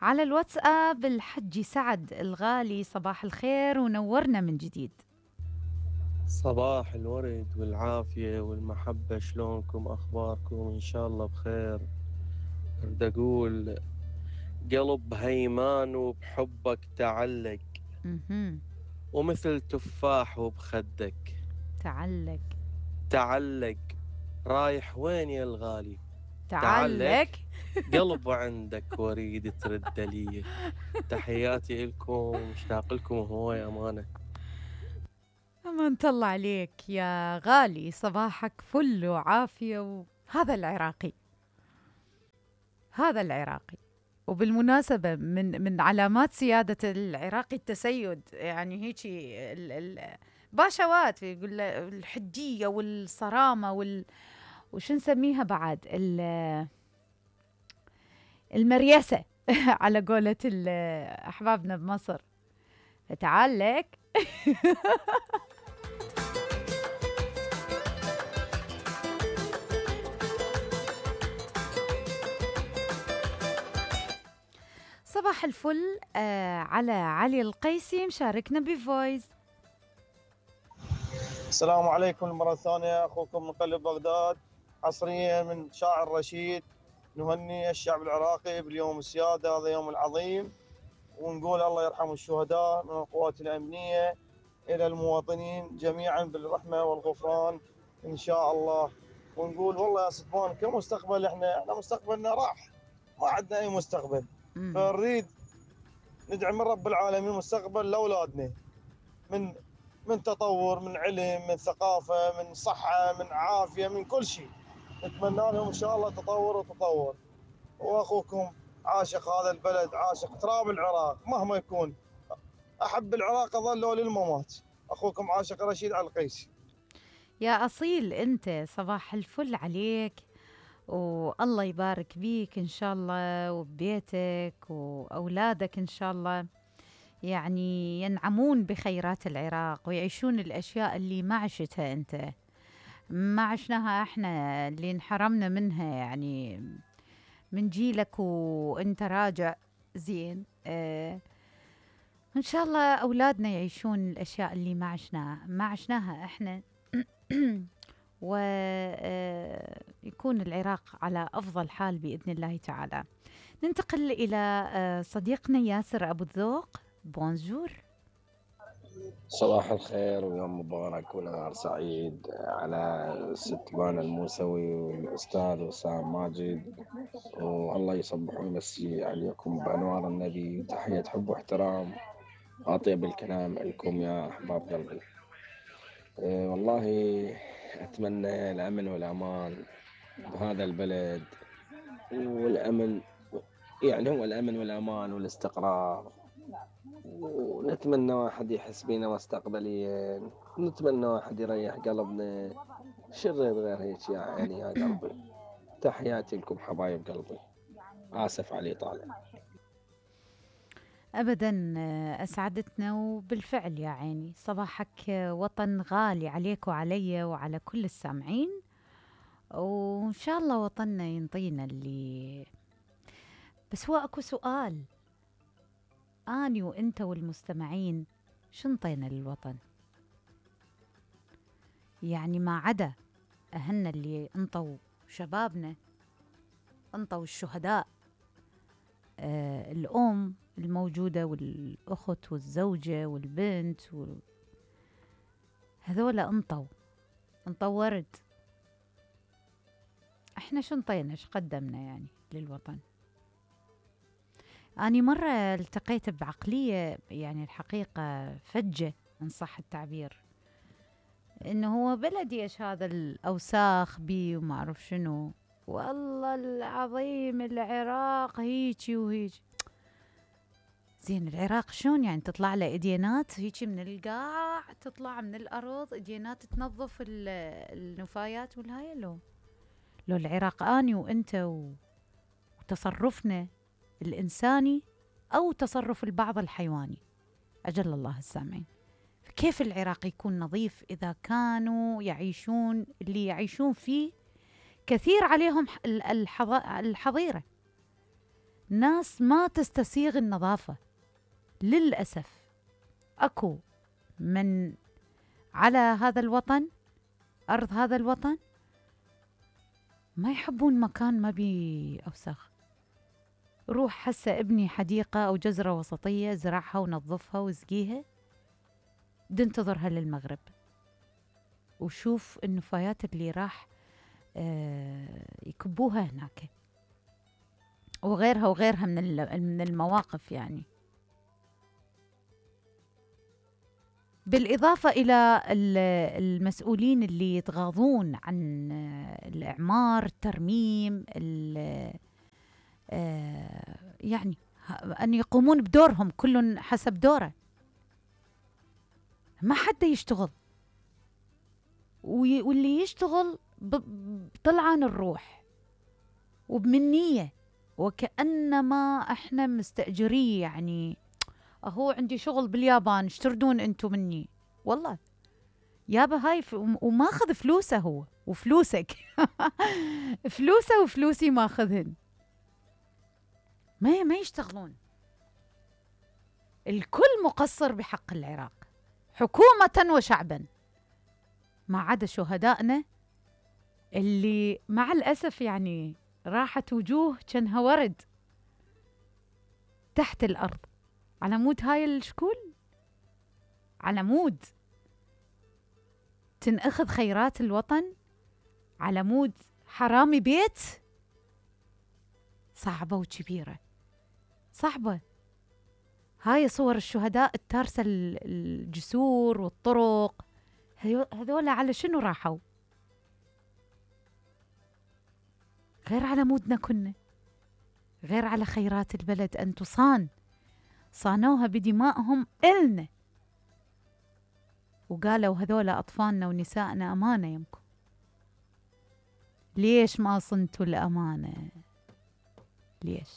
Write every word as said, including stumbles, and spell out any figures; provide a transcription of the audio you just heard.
على الواتساب الحجي سعد الغالي، صباح الخير ونورنا من جديد. صباح الورد والعافية والمحبة، شلونكم أخباركم؟ إن شاء الله بخير. أريد أقول قلب هيمان وبحبك تعلق، مهم. ومثل تفاح وبخدك تعلق تعلق. رايح وين يا الغالي؟ تعلق قلب عندك واريد ترد لي. تحياتي إلكم، مشتاق لكم هواي أمانة. أمان الله عليك يا غالي، صباحك فل وعافية. وهذا العراقي، هذا العراقي. وبالمناسبة من من علامات سيادة العراقي التسيد، يعني هيجي ال ال باشوات يقول الحدية والصرامة وال وش نسميها بعد ال- المريسة على قولة ال- أحبابنا بمصر. تعال لك. صباح الفل آه على علي القيسي مشاركنا بفويس. السلام عليكم مرة ثانية، أخوكم من قلب بغداد، حصريا من شاعر رشيد. نهني الشعب العراقي باليوم السيادة، هذا يوم العظيم، ونقول الله يرحم الشهداء من القوات الأمنية إلى المواطنين جميعا بالرحمة والغفران إن شاء الله. ونقول والله يا صدفان كمستقبل إحنا إحنا مستقبلنا راح، ما عندنا أي مستقبل، فنريد ندعي من رب العالمين مستقبل لأولادنا، من من تطور، من علم، من ثقافة، من صحة، من عافية، من كل شيء. نتمنى لهم إن شاء الله تطور وتطور. وأخوكم عاشق هذا البلد، عاشق تراب العراق مهما يكون، أحب العراق أظل للممات. أخوكم عاشق رشيد على القيسي. يا أصيل أنت، صباح الفل عليك، والله يبارك بيك إن شاء الله وببيتك وأولادك إن شاء الله، يعني ينعمون بخيرات العراق ويعيشون الأشياء اللي ما عشتها أنت، ما عشناها إحنا، اللي انحرمنا منها يعني من جيلك وأنت راجع زين. آه إن شاء الله أولادنا يعيشون الأشياء اللي ما عشناها ما عشناها إحنا. ويكون العراق على أفضل حال بإذن الله تعالى. ننتقل إلى صديقنا ياسر أبو الذوق. بونجور. صباح الخير ويوم مبارك ونهار سعيد على الست بانا الموسوي والأستاذ وسام ماجد، والله يصبح ويمسي عليكم بأنوار النبي. تحية حب واحترام، أطيب الكلام لكم يا أحباب قلبي. أه والله أتمنى الأمن والأمان بهذا البلد، والأمن يعني هو الأمن والأمان والاستقرار، ونتمنى واحد يحس بينا مستقبليا، نتمنى واحد يريح قلبنا، شرير غير هيك يا عيني يا قلبي. تحياتي لكم حبايب قلبي، آسف علي طالع. أبدا أسعدتنا، وبالفعل يا عيني صباحك وطن غالي عليك وعلي وعلى كل السامعين، وإن شاء الله وطننا ينطينا اللي. بس هو أكو سؤال، أني وإنت والمستمعين شنطينا للوطن؟ يعني ما عدا أهلنا اللي انطوا شبابنا، انطوا الشهداء، آه الأم الموجودة والأخت والزوجة والبنت و... هذولا انطوا انطوا ورد. احنا شنطينا، ايش قدمنا يعني للوطن؟ أنا مرة التقيت بعقلية يعني الحقيقة فجة إن صح التعبير، إنه هو بلدي إيش هذا الأوساخ بي وما أعرف شنو، والله العظيم العراق هيجي وهيجي. زين العراق شلون يعني تطلع له إديانات هيجي من القاع، تطلع من الأرض إديانات تنظف النفايات والهاي؟ لو لو العراق أني وإنت وتصرفنا الإنساني أو تصرف البعض الحيواني، أجل الله السامعين، كيف العراق يكون نظيف إذا كانوا يعيشون اللي يعيشون فيه كثير عليهم الحظيرة؟ ناس ما تستسيغ النظافة للأسف. أكو من على هذا الوطن، أرض هذا الوطن، ما يحبون مكان ما بيه أوساخ. روح هسه ابني حديقة أو جزرة وسطية، زرعها ونظفها واسقيها، دنتظرها للمغرب وشوف النفايات اللي راح آه يكبوها هناك، وغيرها وغيرها من من المواقف يعني. بالإضافة إلى المسؤولين اللي يتغاضون عن الإعمار، الترميم، يعني أن يقومون بدورهم، كل حسب دوره. ما حد يشتغل، واللي يشتغل بطلعان الروح وبمنية، وكأنما احنا مستأجريه. يعني اهو عندي شغل باليابان، اشتردون انتو مني. والله يابا هاي ف... وماخذ فلوسه هو وفلوسك فلوسه وفلوسي ماخذهن. ما ما يشتغلون. الكل مقصر بحق العراق، حكومة وشعبا، ما عدا شهدائنا اللي مع الأسف يعني راحت وجوه كانها ورد تحت الأرض على مود هاي الشكول، على مود تنأخذ خيرات الوطن، على مود حرامي بيت. صعبة وكبيرة، صعبة. هاي صور الشهداء التارسة الجسور والطرق، هذولا على شنو راحوا؟ غير على مودنا كنا، غير على خيرات البلد أن تصان، صانوها بدمائهم إلنا، وقالوا هذولا أطفالنا ونسائنا أمانة يمكم. ليش ما صنتوا الأمانة؟ ليش؟